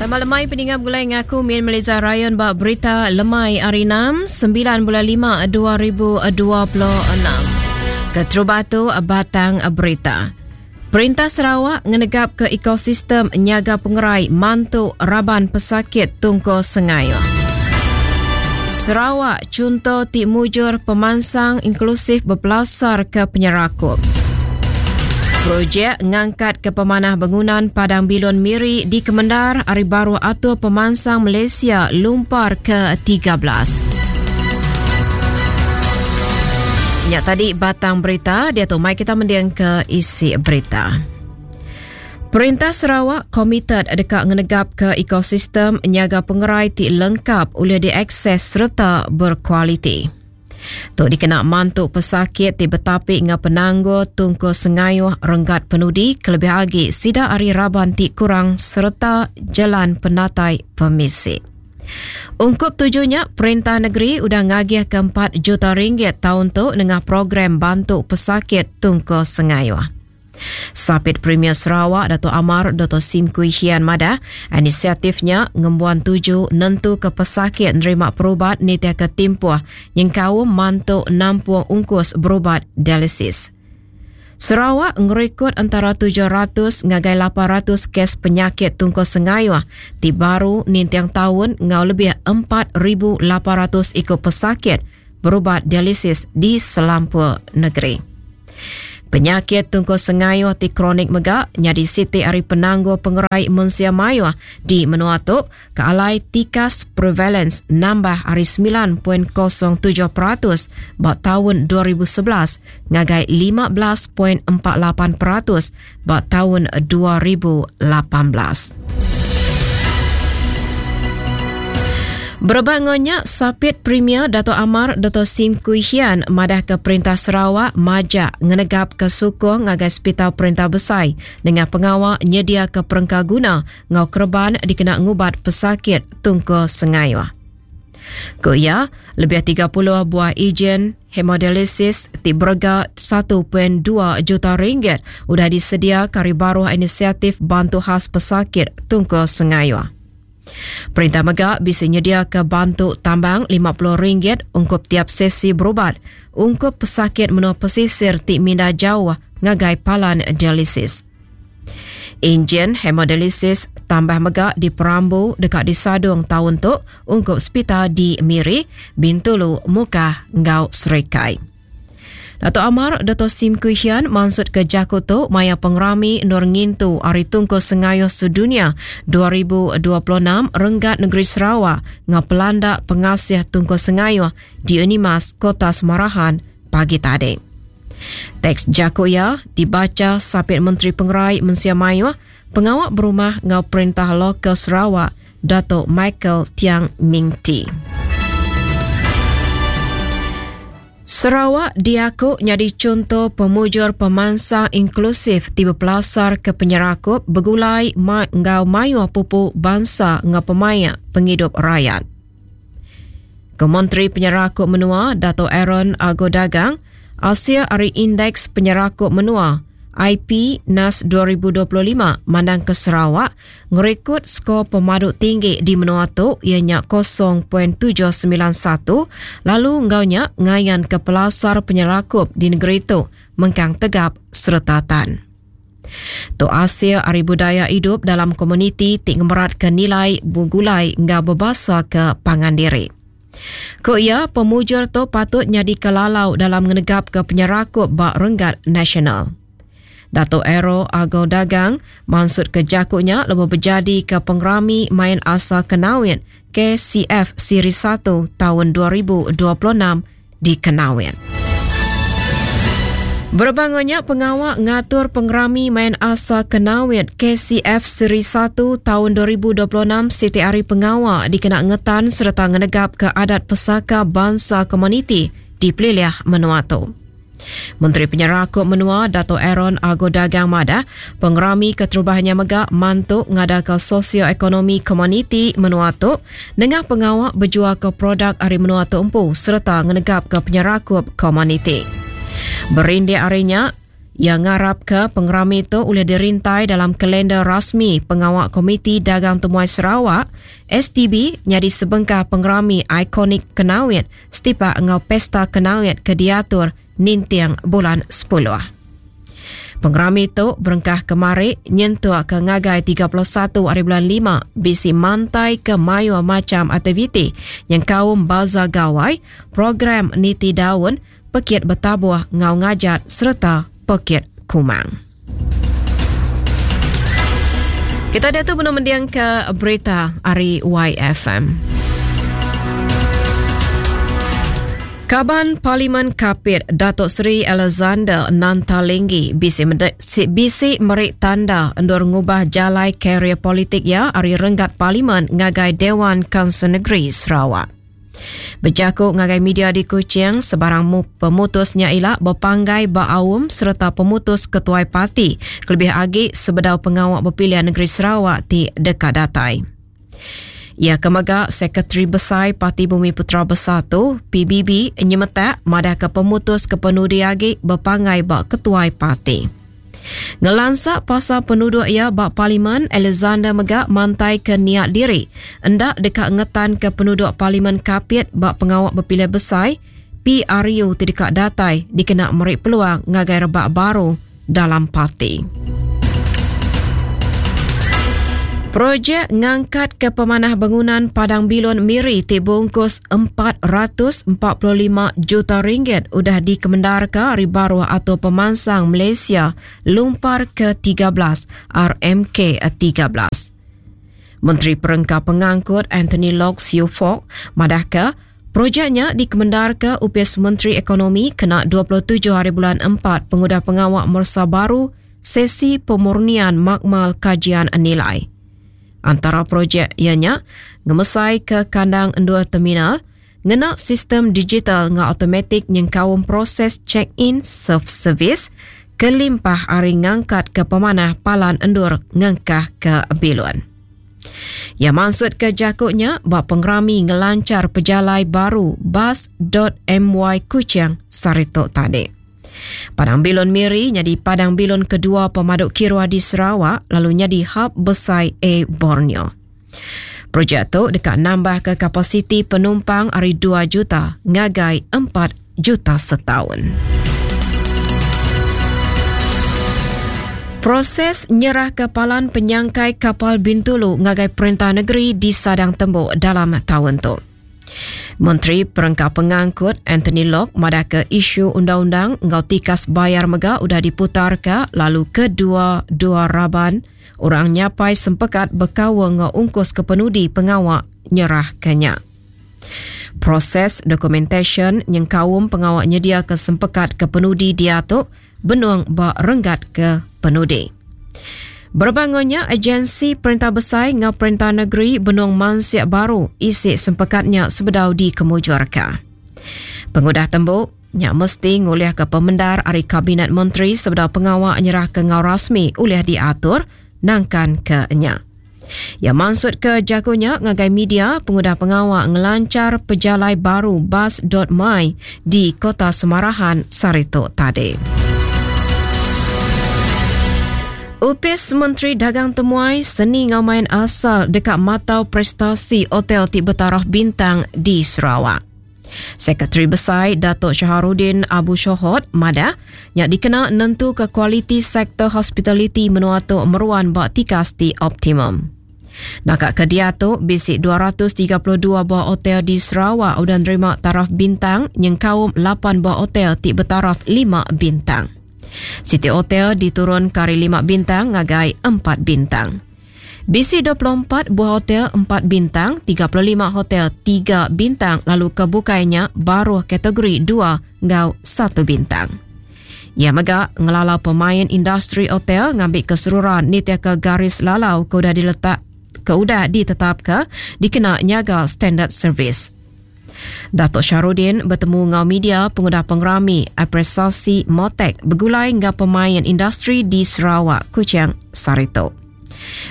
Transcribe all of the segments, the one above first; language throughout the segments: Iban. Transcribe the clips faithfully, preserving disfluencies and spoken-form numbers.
Selamat lemai peninggal gulai ngaku Min Meleza Ryan ba berita lemai hari enam sembilan bulan lima dua ribu dua puluh enam. Keterubah tu batang berita. Perintah Sarawak ngenegap ke ekosistem nyaga pengerai mantu raban pesakit Tungko Sengayu. Sarawak contoh ti mujur pemansang inklusif berpelasar ke penyerakup. Projek ngangkat ke pemanah bangunan Padang Bilun Miri di Kemendar hari baru atur pemansang Malaysia lumpar ke tiga belas. Nyak tadi batang berita, dia tu mai kita mendiang ke isi berita. Perintah Sarawak komited dekat ngenegap ke ekosistem nyaga pengerai ti lengkap oleh diakses serta berkualiti. Tu dikena mantu pesakit ti betapi ngah penangguh tungku sengayuh renggat penudi kelebih agi sida ari raban ti kurang serta jalan penatai pemisi. Ungkup tujuhnya, Perintah Negeri udah ngagih ke empat juta ringgit tahun tu dengan program bantu pesakit tungku sengayuh. Sapit Premier Sarawak Dato' Amar Dato' Sim Kui Hian madah inisiatifnya ngembuan tuju nentu ke pesakit nerima perubat nitia ke timpuh nyengkau mantu nampung ungkus berubat dialisis. Sarawak ngerekod antara tujuh ratus ngagai lapan ratus kes penyakit tungku sengayuh ti baru nintiang tahun ngau lebih empat ribu lapan ratus ikut pesakit berubat dialisis di selampur negeri. Penyakit tungku sengayuh ti kronik mega nyadi siti ari penangguh pengerai mensia mayuh di menua tu ke alai tikas prevalence nambah ari sembilan titik kosong tujuh peratus ba tahun dua ribu sebelas ngagai lima belas titik empat lapan peratus ba tahun dua ribu lapan belas. Berbangunnya, Sapit Premier Dato' Amar Dato' Sim Kui Hian madah ke Perintah Sarawak majak ngenegap ke sukung ngagai Hospital Perintah Besai dengan pengawal nyedia ke perengka guna ngau kerban dikena ngubat pesakit tungku sengayuh. Ku ia, lebih tiga puluh buah ejen hemodialisis ti berega satu titik dua juta ringgit udah disedia kari baruh inisiatif bantu khas pesakit tungku sengayuh. Perintah mega bisa nyedia ke bantu tambang lima puluh ringgit ungkup tiap sesi berubat ungkup pesakit menua pesisir ti minda jauh ngagai palan dialisis. Enjin hemodialisis tambah mega di Perambu dekat di Sadung tahun tu ungkup hospital di Miri, Bintulu, Mukah ngau Serikai. Dato' Amar Dato' Sim Kui Hian maksud ke Jakoto maya pengerami Nur Ngintu Hari Tungku Sengayuh Sedunia dua ribu dua puluh enam Renggat Negeri Sarawak ngau pelanda pengasih Tungku Sengayuh di Unimas Kota Semarahan pagi tadi. Teks Jakoya dibaca Sapit Menteri Pengerai Mensia Mayuh Pengawak Berumah ngau Perintah Lokal Sarawak Dato' Michael Tiang Ming Tee. Sarawak diaku nyadi contoh pemujur pemansang inklusif ti berpelasar ke penyerakup begulai ma ngau mayuh pupu bangsa ngau pemayak penghidup rakyat. Kementeri Penyerakup Menua Dato' Aaron Ago Dagang Asia Ari Indeks Penyerakup Menua I P N A S dua ribu dua puluh lima mandang ke Sarawak ngerekod skor pemadu tinggi di menua tu ianya kosong titik tujuh sembilan satu lalu ngaunya ngayan ke pelasar penyerakup di negeri tu mengkang tegap serta tan. Tu Asia Ari Budaya Hidup dalam komuniti ti ngemerat ke nilai bugulai ngau berbahasa ke pangan diri. Ku ia, pemujur tu patut nyadi kelalau dalam ngenegap ke penyerakup bak renggat nasional. Dato' Ero Ago Dagang maksud ke jakuknya lebih berjadi ke pengerami main asal Kenawit K C F Siri satu tahun dua ribu dua puluh enam di Kenawit. Berbangunnya pengawak ngatur pengerami main asal Kenawit K C F Seri satu tahun dua ribu dua puluh enam Siti Ari Pengawak dikena ngetan serta ngenegap ke adat pesaka bangsa komuniti di Peliliah Menua tu. Menteri Penyerakup Menua Dato' Aaron Ago Dagang madah pengerami keterubahnya mega mantu ngadaka sosioekonomi komuniti menua tu nengah pengawak berjual ke produk ari menua tu empu serta ngenegap ke penyerakup komuniti. Berindik arinya, Ia ngarap ke pengerami tu boleh dirintai dalam kalender rasmi Pengawal Komiti Dagang Temuai Sarawak S T B jadi sebengkah pengerami ikonik Kenawit setipak ngau Pesta Kenawit ke diatur nintiang bulan sepuluh. Pengerami tu berengkah kemari nyentuh ke ngagai tiga puluh satu hari bulan lima bisi mantai ke mayu macam aktiviti yang kaum Bazar Gawai, program Niti Daun, Pekit Bertabuh Ngau Ngajat serta Pekit Kumang. Kita dia tu belum mendiang ke berita hari Y F M. Kaban Parlimen Kapit Datuk Seri Alexander Nanta Linggi bisi mende-, si-, bisi merik tanda endur ngubah jalai karier politik ya ari renggat parlimen ngagai Dewan Kaunsil Negeri Sarawak. Berjakuk ngagai media di Kuching sebarang mu-, pemutusnya ilak berpanggai baaum serta pemutus ketuai parti kelebih agi sebedau pengawak berpilihan negeri Sarawak ti dekat datai. Ia kemaga Sekretari Besar Parti Bumi Putra Bersatu P B B nyemetak madah ke pemutus kepenudi agi berpanggai bak ketuai parti. Ngelansak pasal penduduk ia bak parlimen, Alexander megak mantai ke niat diri hendak dekat ngetan ke penduduk parlimen Kapit bak pengawak berpilihan besar P R U tidak datai dikena merik peluang ngagai rebak baru dalam parti. Projek ngangkat ke pemanah bangunan Padang Bilun Miri ti bungkus empat ratus empat puluh lima juta ringgit udah dikemendarkan hari baru atau pemansang Malaysia lumpar ke tiga belas R M K tiga belas. Menteri Perengka Pengangkut Anthony Loke Siew Fook madah ke projeknya dikemendarkan U P S Menteri Ekonomi kena dua puluh tujuh hari bulan empat pengudah pengawak Mersa Baru sesi pemurnian makmal kajian nilai. Antara projek ianya ngemesai ke kandang endua terminal, ngena sistem digital ngau automatik nyengkaum proses check-in self-service, kelimpah ari ngangkat ke pemanah palan endur ngengkah ke bilun. Ia maksud ke jakuknya bak pengerami ngelancar pejalai baru bus dot M Y Kuching Saritok tadi. Padang Bilun Miri jadi Padang Bilun kedua pemaduk kirua di Sarawak lalu jadi hub besar A Borneo. Projek tu dekat nambah ke kapasiti penumpang ari dua juta ngagai empat juta setahun. Proses nyerah kepalan penyangkai kapal Bintulu ngagai Perintah Negeri di Sadang Tembok dalam tahun tu. Menteri Perengka Pengangkut Anthony Loke madah ke isu undang-undang ngau tikas bayar mega udah diputar ke lalu kedua-dua raban orang nyapai sempekat berkawa ngau ungkus kepenudi pengawak nyerah kenya. Proses dokumentasi nyengkaum pengawak nyedia ke sempekat kepenudi dia tu benuang ba renggat ke penudi. Berbangunnya agensi Perintah Besar ngau Perintah Negeri benung mansiak baru isi sempekatnya sebedau di kemujurka. Pengudah tembuk, nyak mesti nguliah ke pemendar ari Kabinet Menteri sebedau pengawak nyerah ke ngau rasmi uliah diatur nangkan ke nyak. Ya maksud ke jagonya ngagai media pengudah pengawak ngelancar pejalai baru bus dot my di Kota Semarahan Saritok tadi. U P S Menteri Dagang Temuai Seni Ngau Main Asal dekat matau prestasi hotel ti bertaraf bintang di Sarawak. Sekretari Besar Datuk Syaharudin Abu Shohot madah yang dikena nentu ke kualiti sektor hospitality menua tu meruan bak tikas ti optimum. Nakak ke dia tu bisik dua ratus tiga puluh dua buah hotel di Sarawak udah nerima taraf bintang yang kaum lapan buah hotel ti bertaraf lima bintang. City Hotel diturun kari lima bintang ngagai empat bintang. B C dua puluh empat buah hotel empat bintang, tiga puluh lima hotel tiga bintang lalu kebukainya baru kategori dua ngau satu bintang. Ia megak ngelala pemain industri hotel ngambil keseluruhan nitia ke garis lalau ke udah diletak ke udah ditetap ke dikena nyaga standard service. Datuk Syahrudin bertemu ngau media pengudah pengerami apresiasi Motek bergulai ngau pemain industri di Sarawak, Kuching, Saritok.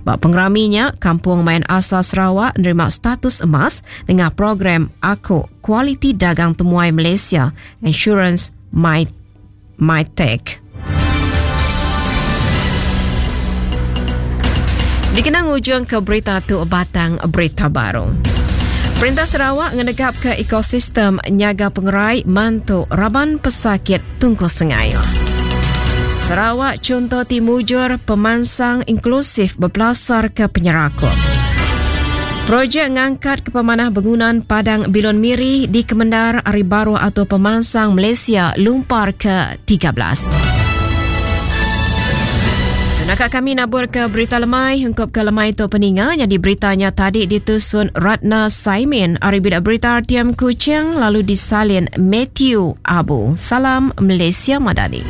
Bak pengeraminya, Kampung Main Asal Sarawak menerima status emas dengan program Aku Kualiti Dagang Temuai Malaysia Insurance My, My Tech. Dikena ngujung ke berita tu batang berita baru. Perintah Sarawak ngenegap ke ekosistem nyaga pengerai mantu raban pesakit tungkus sengai. Sarawak contoh ti mujur pemansang inklusif berpelasar ke penyerakup. Projek ngangkat ke pemanah bangunan Padang Bilun Miri di Kemendar Hari Baru atau Pemansang Malaysia lumpar ke tiga belas. Nakak kami nabur ke berita lemai hengkop ke lemai tu peninga jadi beritanya tadi ditusun Ratna Saimin ari bidak berita R T M Kuching lalu disalin Matthew Abu. Salam Malaysia Madani.